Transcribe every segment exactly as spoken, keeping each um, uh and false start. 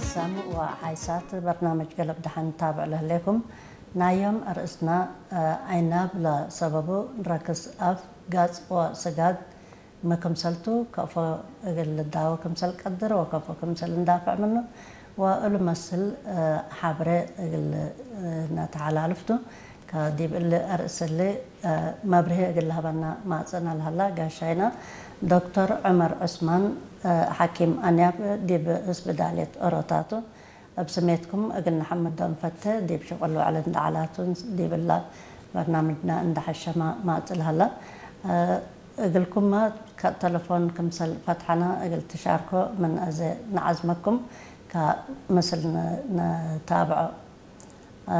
ሳምዕ ወሓይሳት በርናምጅ ገለብ ደሐን ታብዕ ለህሌኩም። ናይ ዮም አርእስና፣ አ፣ አይናብ ለሰበቡ ረክስ አፍ፣ ጋጽ ወስጋድ ሚ ክምሰልቱ፣ ከፎ እግል ልዳወ ክምሰል ቀድር ወከፎ ክምሰል እንዳፍዕ ምኑ ወእሉ መስል፣ እ፣ ሐብሬ እግል፣ እ፣ ነተሐላልፍቱ። ከዲብ እሊ አርእስ እሊ፣ እ፣ መብርሂ እግል ለሀበና ማጽእነ ለሀላ ጋሻይነ ዶክተር ዑመር ዑስማን፣ እ፣ ሐኪም አንያብ ዲብ እስብዳልየት ኦሮታቱ። እብ ስሜትኩም እግል ነሐምዶ እንፈቴ፣ ዲብ ሽቅል ወዕል እንደ ዐላቱ ዲብ እላ በርናምጅና እንደ ሐሸመ ማጽእ ለሀለ። እ፣ እግልኩመ ከ-፣ ተለፎን ክምሰል ፈትሐነ እግል ትሻርኮ ምን አዜ ነዐዝመኩም፣ ከምስል ነ-፣ ነታብዖ። እ፣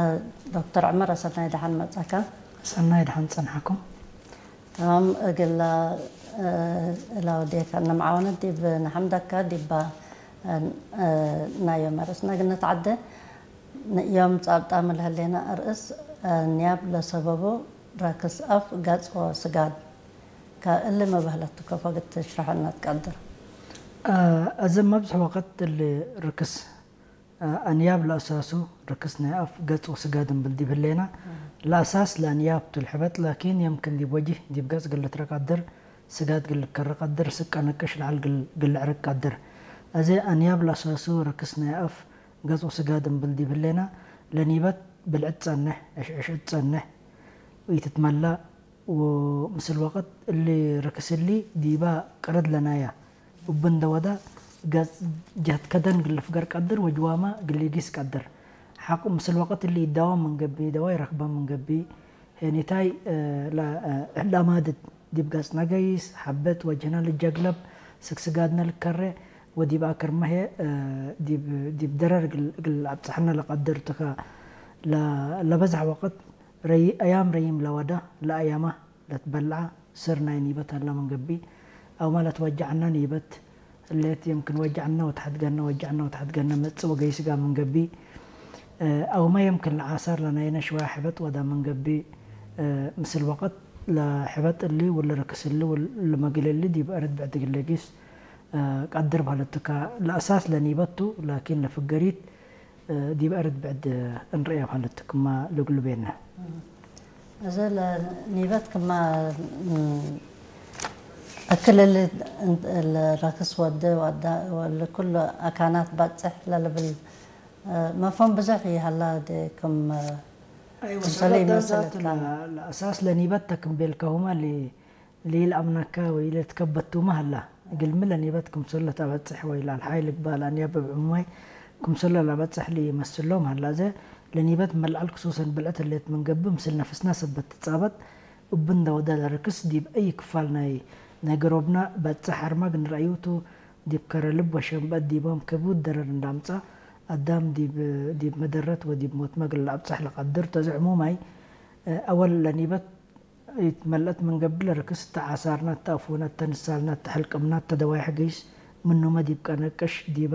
ዶክተር ዑመር፣ አሰናይ ደሐን መጽአከ። ሰናይ ደሐን ጸንሐኩም። ተማም፣ እግለ፣ እ፣ እላው ዴከ እነ መዓወነት ዲብ ነሐምደከ ዲባ፣ እ፣ እ፣ ናይ ዮም አርእስነ እግል ነትዐዴ። ን-፣ ዮም ጻብጣም ለህሌነ አርእስ፣ እ፣ ንያብ ለሰበቡ ረክስ አፍ፣ ገጽ ወስጋድ። ከእሊ መበህለቱ ከፎ እግል ትሽረሐነ ትቀድር? እ፣ አዜ መብዝሕ ወቅት እሊ ርክስ አ-፣ አንያብ ለአሳሱ ርክስ ናይ አፍ፣ ገጽ ወስጋድ እምብል ዲብ ህሌና፣ ለአሳስ ለአንያብ ቱ ለሕበጥ፣ ላኪን የምክን ዲብ ወጅህ፣ ዲብ ገጽ እግል ልትረ ቀድር፣ ስጋድ እግል ልከረ ቀድር፣ ስቀ ንቅሽ ለዐል እግል፣ እግል ልዕርግ ቀድር። አዜ አንያብ ለአሳሱ ርክስ ናይ አፍ፣ ገጽ ወስጋድ እምብል ዲብ ህሌና፣ ለኒበት ብልዕት ጸንሕ፣ ዕሽዕሽዕት ጸንሕ፣ ኢትትመላእ፣ ወምስል ወቅት እሊ ርክስ እሊ ዲባ ቅርድ ለናያ እብ እንደ ወዳ ገጽ ጀህት ከደን እግል ልፍገር ቀድር ወጅዋመ እግል ሊጊስ ቀድር። ሐቆ ምስል ወቅት እሊ ኢዳወ ምን ገብእ፣ ደዋይ ረክበ ምን ገብእ፣ ሄኒታይ፣ እ፣ ለ-፣ እ፣ ለአማድድ ዲብ ገጽነ ገይስ፣ ሐበት ወጅህነ ልጀግለብ፣ ስግስጋድነ ልከሬ፣ ወዲብ አክርመ ህዬ፣ እ፣ ዲብ፣ ዲብ ደረር እግል፣ እግል አብጽሐነ ለቀድር ቱ ከ። ለ-፣ ለበዝሐ ወቅት ረይ-፣ አያም ረይም ለወደ፣ ለአያመ ለትበልዐ ስር ናይ ኒበት ሀለ ምን ገብእ፣ አውመ ለትወጀዐነ ኒበት ህሌት፣ የምክን ወጀዐነ ወተሐድገነ፣ ወጀዐነ ወተሐድገነ መጽእ ወገይስ ጋር ምን ገብእ፣ እ፣ አውመ የምክን ለአሳር ለናይነ ሽዋይ ሕበጥ ወዳ ምን ገብእ፣ እ፣ ምስል ወቅት ለሕበጥ እሊ ወለርክስ እሊ ወለመግል እሊ ዲብ አርድ ብዕድ እግል ለጊስ፣ እ፣ ቀድር በህለት ቱ ከ። ለአሳስ ለኒበት ቱ፣ ላኪን ለፍገሪት ዲብ አርድ ብዕድ እንርእየ ማለት ክማ ልግሉ ቤነ። እዘ ለኒበት ክማ እክል እሊ ለረክስ ወደ ወዳ ወለ ኩሉ አካናት ባጽሕ ለልብል መፍሁም ብዙሕ ይሀላ ዲ ክም አይወ፣ ክምሰል ሰበት ይመሰለት ዳት ካነ። ለአሳስ ለኒበት ተክም ቤልከሁማ ሊ ለኢለአምነከ ወኢለትከበቱመ ሀላ። እግልሚ ለኒበት ክምሰል ለተአበጽሕ ወኢለአልሓይ ልግበእ ለአንያብ እብ ዕሙማይ ክምሰል ለለአበጽሕ ለኢመስሎም ሀላ። እዘ ለኒበት መልዐል ክሱሰን ብልዕት ህሌት ምን ገብእ፣ ምስል ነፍስና ሰበት ትጻበጥ። እብ እንደ ወደ ለርክስ ዲብ አይ ክፋል ናይ፣ ናይ ገሮብና በጽሕ አርማግ እንረአዩ ቱ፣ ዲብ ከረ ልብ ወሸንበ ዲቦም ክቡድ ደረር እንደ አምጸ፣ አዳም ዲብ፣ ዲብ መደረት ወዲብ ሞትመ እግል ለአብጽሕ ለቀድር ቱ። እዘ ዕሙማይ፣ አወል ለኒበት ኢትመልአት ምን ገብእ ለርክስ፣ እተ ዓሳርና፣ እተ አፉነ፣ እተ ንሳልና፣ እተ ሕልቅምና፣ እተ ደዋይሕ ገይስ ምኑመ ዲብ ቀነቅሽ፣ ዲበ